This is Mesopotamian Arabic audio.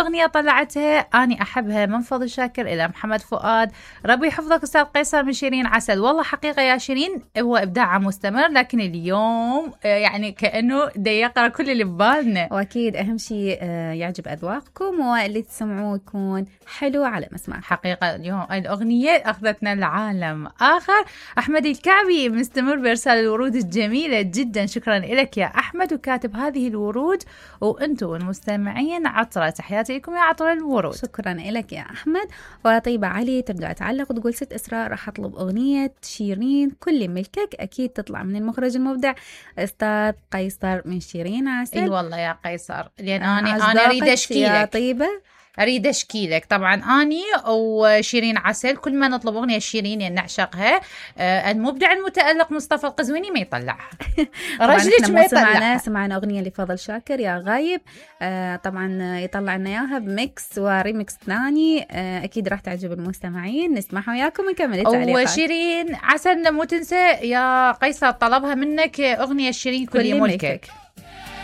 أغنية طلعتها أني أحبها من فضل شاكر إلى محمد فؤاد. ربي يحفظك أستاذ قيصر من شيرين عسل. والله حقيقة يا شيرين هو إبداع مستمر، لكن اليوم يعني كأنه دا يقرأ كل اللي ببالنا. وأكيد أهم شيء يعجب أذواقكم واللي تسمعوه يكون حلو على مسمع. حقيقة اليوم الأغنية أخذتنا لعالم آخر. أحمد الكعبي مستمر بإرسال الورود الجميلة جدا، شكرا لك يا أحمد، وكاتب هذه الورود وأنتم المستمعين عطرة. تحياتي لكم يا عطر الورود. شكرا لك يا أحمد. وطيبة علي ترجع تعلق وتقول ست إسراء راح أطلب أغنية شيرين كل ملكك، أكيد تطلع من المخرج المبدع أستاذ قيصر من شيرين عسل. اي والله يا قيصر، لأن أنا أريد أشكيلك يا طيبة، أريد أشكيلك. طبعا أني وشيرين عسل كل ما نطلب أغنية شيرين يعني نعشقها، المبدع المتألق مصطفى القزويني ما يطلعها. رجلك ما يطلعها. سمعنا أغنية لفضل شاكر يا غايب، طبعا يطلع لنا إياها بميكس وريميكس ثاني، أكيد راح تعجب المستمعين. نسمعها وياكم ونكمل التعليقات. وشيرين عسل مو تنسى يا قيصر طلبها منك أغنية شيرين كل ملكك.